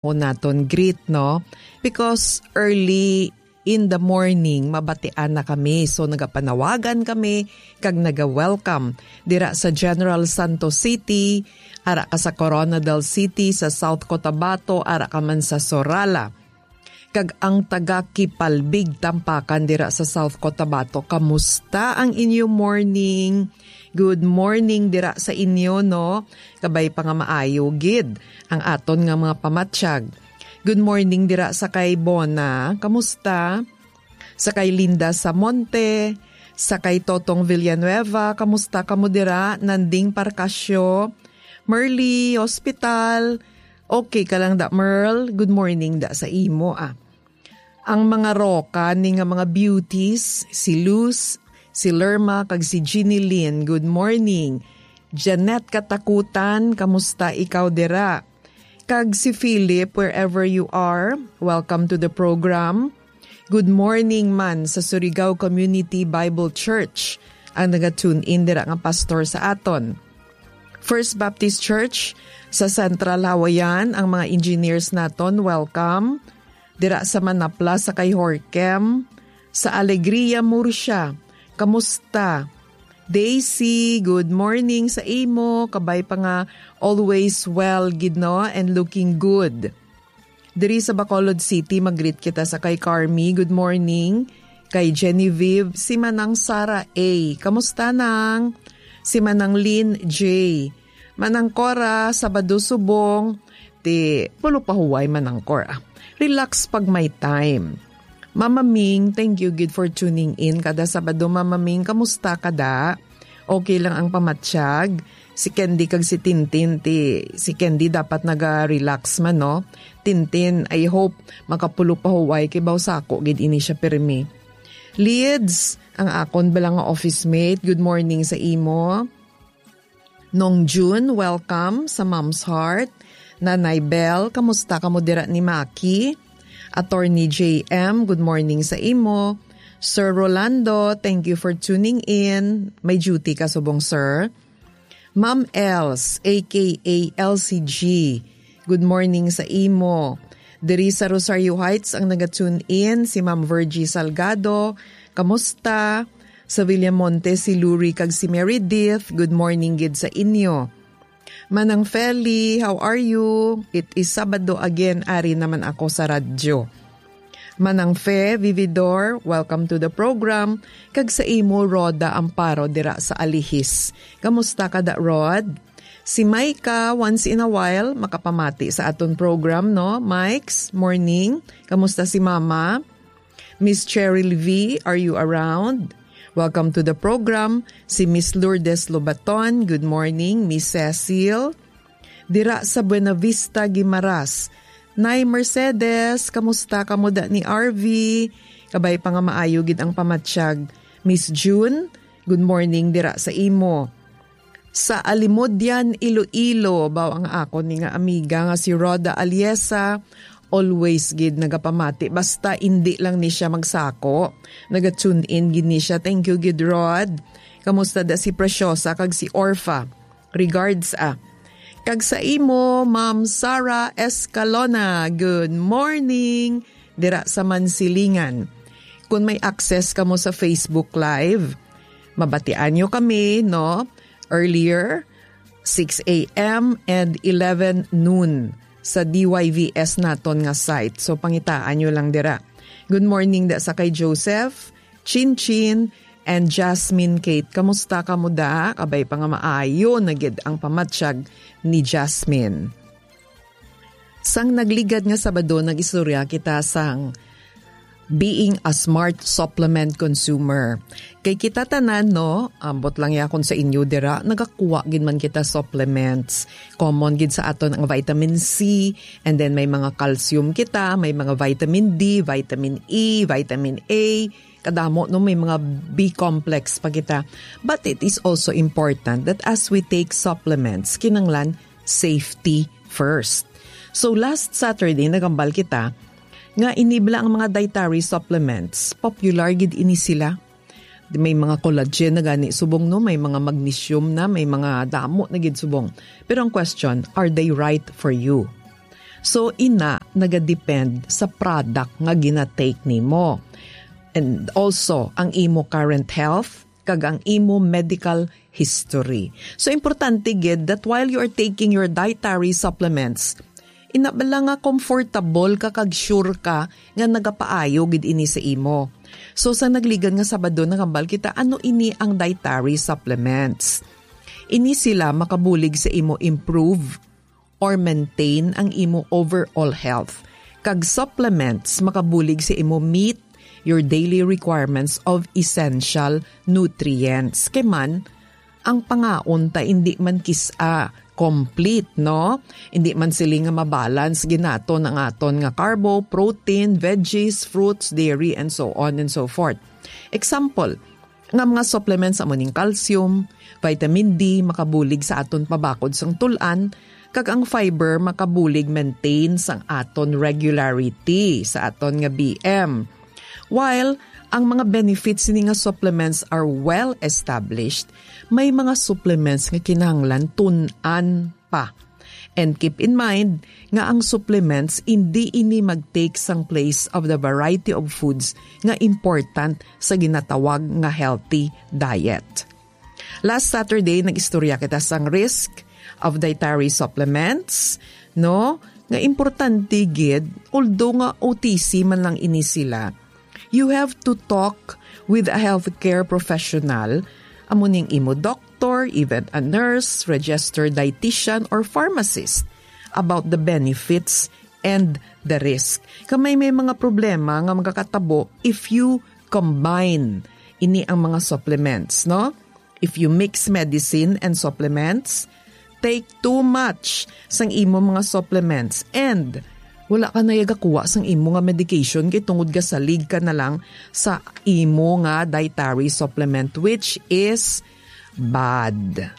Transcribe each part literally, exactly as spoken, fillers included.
naton greet, no? Because early in the morning, mabatian na kami. So, nagapanawagan kami kag naga-welcome dira sa General Santos City, ara ka sa Corona del City, sa South Cotabato, ara ka man sa Sorala. Kag ang taga Kipalbig, Tampakan dira sa South Cotabato, kamusta ang inyo morning? Good morning dira sa inyo, no? Kabay pa nga maayo gid ang aton nga mga pamatyag. Good morning dira sa kay Bona. Kamusta? Sa kay Linda Samonte, sa kay Totong Villanueva, kamusta kamo dira? Nanding Parcasio, Merly Hospital. Okay ka lang da, Merl? Good morning da sa imo, ah. Ang mga roka ni nga mga beauties, si Luz, si Lerma, kag si Jeannie Lynn, good morning. Janet Katakutan, kamusta ikaw dira? Kag si Philip, wherever you are, welcome to the program. Good morning man sa Surigao Community Bible Church, ang naga-tune in dira nga pastor sa aton. First Baptist Church sa Central Hawaiian, ang mga engineers naton, welcome. Dira sa Manapla, sa kay Horkem, sa Alegria, Murcia. Kamusta? Daisy, good morning sa imo. Kabay pa nga always well gid, no? And looking good. Diri sa Bacolod City, mag-greet kita sa kay Carmi. Good morning. Kay Genevieve, si Manang Sara A. Kamusta, Nang? Si Manang Lynn J. Manang Cora, Sabado subong. Ti, pulo pa huway, Manang Cora. Relax pag may time. Mama Ming, thank you gid for tuning in kada Sabado. Mama Ming, kamusta ka da? Okay lang ang pamatyag? Si Candy kag si Tintin, ti, si Candy dapat naga-relax man, no? Tintin, I hope makapulo pa huway kay baw sako gid ini siya pirmi. Lids, ang akon bala nga office mate, good morning sa imo. Nong June, welcome sa Mom's Heart. Nanay Bell, kamusta kamo dira ni Maki? Attorney J M, good morning sa imo. Sir Rolando, thank you for tuning in. May duty ka subong, sir. Ma'am Els, A K A L C G, good morning sa imo. Diri sa Rosario Heights ang naga-tune in, si Ma'am Virgie Salgado. Kamusta? Sa Villamonte, si Luri kag si Meredith. Good morning gid sa inyo. Manang Feli, how are you? It is Sabado again, ari naman ako sa radyo. Manang Fe Vividor, welcome to the program. Kag sa imo, Rhoda Amparo, dira sa Alihis. Kamusta ka da, Rod? Si Micah, once in a while, makapamati sa aton program, no? Mikes, morning. Kamusta si Mama? Miss Cheryl V, are you around? Welcome to the program. Si Miss Lourdes Lobaton, good morning. Miss Cecil, dira sa Buenavista, Guimaras. Nay Mercedes, kamusta kamo da ni R V? Kabay pa nga maayo gid ang pamatyag. Miss June, good morning dira sa imo. Sa Alimodian, Iloilo, baw ang akon ni nga amiga nga si Rhoda Aliesa, always gid nagapamati. Basta indi lang ni siya magsako, naga-tune in gid ni siya. Thank you gid, Rod. Kamusta da si Preciosa kag si Orfa? Regards, ah. Kag sa imo, Ma'am Sara Escalona, good morning dira sa Mansilingan. Kung may access kamo sa Facebook Live, mabatian nyo kami, no? Earlier, six a m and eleven noon sa D Y V S naton nga site. So, pangitaan nyo lang dira. Good morning da sa kay Joseph, Chin Chin, and Jasmine Kate. Kamusta kamo da? Kabay pa nga maayo na gid ang pamatyag ni Jasmine. Sang nagligad nga Sabado, nag-istorya kita sang being a smart supplement consumer. Kay kita tanan, no, ambot lang yakon sa inyo dira, nagakuha gid man kita supplements. Common gid sa aton ang vitamin C, and then may mga calcium kita, may mga vitamin D, vitamin E, vitamin A, kadamo, no, may mga B complex pa kita. But it is also important that as we take supplements, kinanglan safety first. So last Saturday, nagambal kita nga ini bala ang mga dietary supplements, popular gid ini sila. May mga collagen na gani subong, no, may mga magnesium na, may mga damo na gid subong. Pero ang question, are they right for you? So, ina, nagadepend sa product nga ginatake nimo. And also, ang imo current health kag ang imo medical history. So, importante gid that while you are taking your dietary supplements, ina bala nga comfortable ka kag sure ka nga nagapaayo gid ini sa imo. So, sa nagligan nga Sabado, nakambal kita ano ini ang dietary supplements. Ini sila makabulig sa imo improve or maintain ang imo overall health. Kag supplements makabulig sa imo meet your daily requirements of essential nutrients. Kay man, ang pangaon ta hindi man kis-a complete, no? Hindi man sila nga mabalance ginaton ang aton nga carbo, protein, veggies, fruits, dairy, and so on and so forth. Example, nga mga supplements amo ning calcium, vitamin D, makabulig sa aton pabakod sang tul-an, kag ang fiber makabulig maintain sang aton regularity sa aton nga B M. While ang mga benefits sini nga supplements are well established, may mga supplements nga kinahanglan tun-an pa. And keep in mind nga ang supplements hindi ini mag-take sang place of the variety of foods nga important sa ginatawag nga healthy diet. Last Saturday, nag-istorya kita sang risk of dietary supplements, no? Nga importante gid, although nga O T C man lang ini sila, you have to talk with a healthcare professional, amo ning imo doctor, even a nurse, registered dietitian, or pharmacist about the benefits and the risk. Kay may, may mga problema nga magakatabo if you combine ini ang mga supplements, no? If you mix medicine and supplements, take too much sang imo mga supplements and wala ka na yagakuha sang imo nga medication kay tungod gasalig ka na lang sa imo nga dietary supplement, which is bad.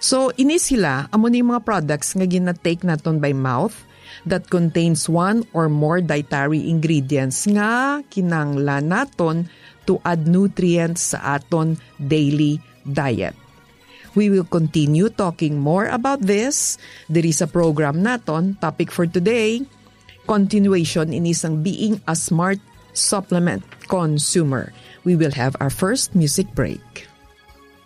So, ini sila, amo ni mga products nga ginatake naton by mouth that contains one or more dietary ingredients nga kinahanglan naton to add nutrients sa aton daily diet. We will continue talking more about this diri sa program naton, topic for today, continuation ini sang being a smart supplement consumer. We will have our first music break.